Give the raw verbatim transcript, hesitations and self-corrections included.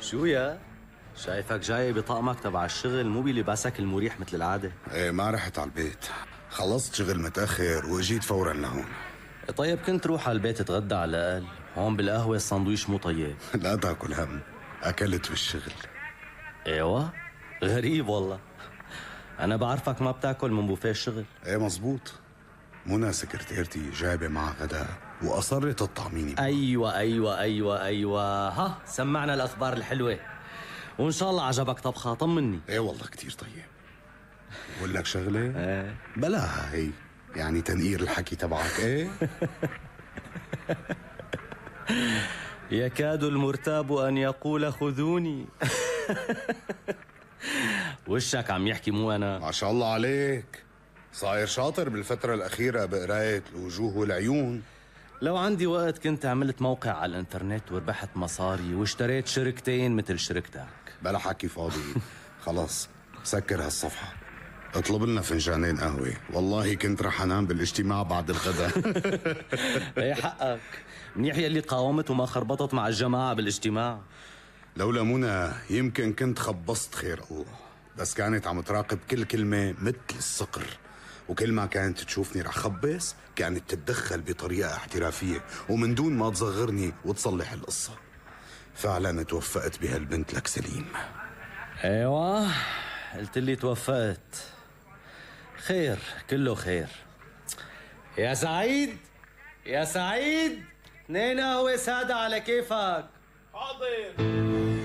شو يا؟ شايفك جاي بطقمك تبع الشغل مو بلباسك المريح مثل العادة. ايه ما رحت على البيت، خلصت شغل متأخر واجيت فورا لهون. طيب كنت روح على البيت تتغدى على الأقل، هون بالقهوة الساندويش مو طيب. لا تاكل هم، أكلت بالشغل. ايوه؟ غريب والله، أنا بعرفك ما بتاكل من بوفيه الشغل. ايه مزبوط، منى سكرتيرتي جايبة معها غدا وأصرت تطعميني. أيوة أيوة أيوة أيوة، ها سمعنا الأخبار الحلوة، وإن شاء الله عجبك طبخها، طمني. ايه والله كتير طيب. بقول لك شغلة؟ ايه بلاها هي، يعني تنقير الحكي تبعك. ايه يكاد المرتاب أن يقول خذوني. وشك عم يحكي مو أنا. ما شاء الله عليك، صاير شاطر بالفترة الأخيرة بقراية الوجوه والعيون. لو عندي وقت كنت عملت موقع على الانترنت وربحت مصاري واشتريت شركتين مثل شركتك. بلا حكي فاضي. خلاص سكر هالصفحة، اطلب لنا فنجانين قهوة، والله كنت رح انام بالاجتماع بعد الغداء. ايه حقك، منيح يلي قاومت وما خربطت مع الجماعة بالاجتماع. لولا منى يمكن كنت خبصت خير الله، بس كانت عم تراقب كل كلمة مثل الصقر، وكل ما كانت تشوفني رح خبص كانت تتدخل بطريقة احترافية ومن دون ما تصغرني وتصلح القصة. فعلا توفقت بهالبنت لك سليم. ايوه قلت لي توفقت، خير كله خير. يا سعيد يا سعيد، اثنين قهوة سادة على كيفك. حاضر.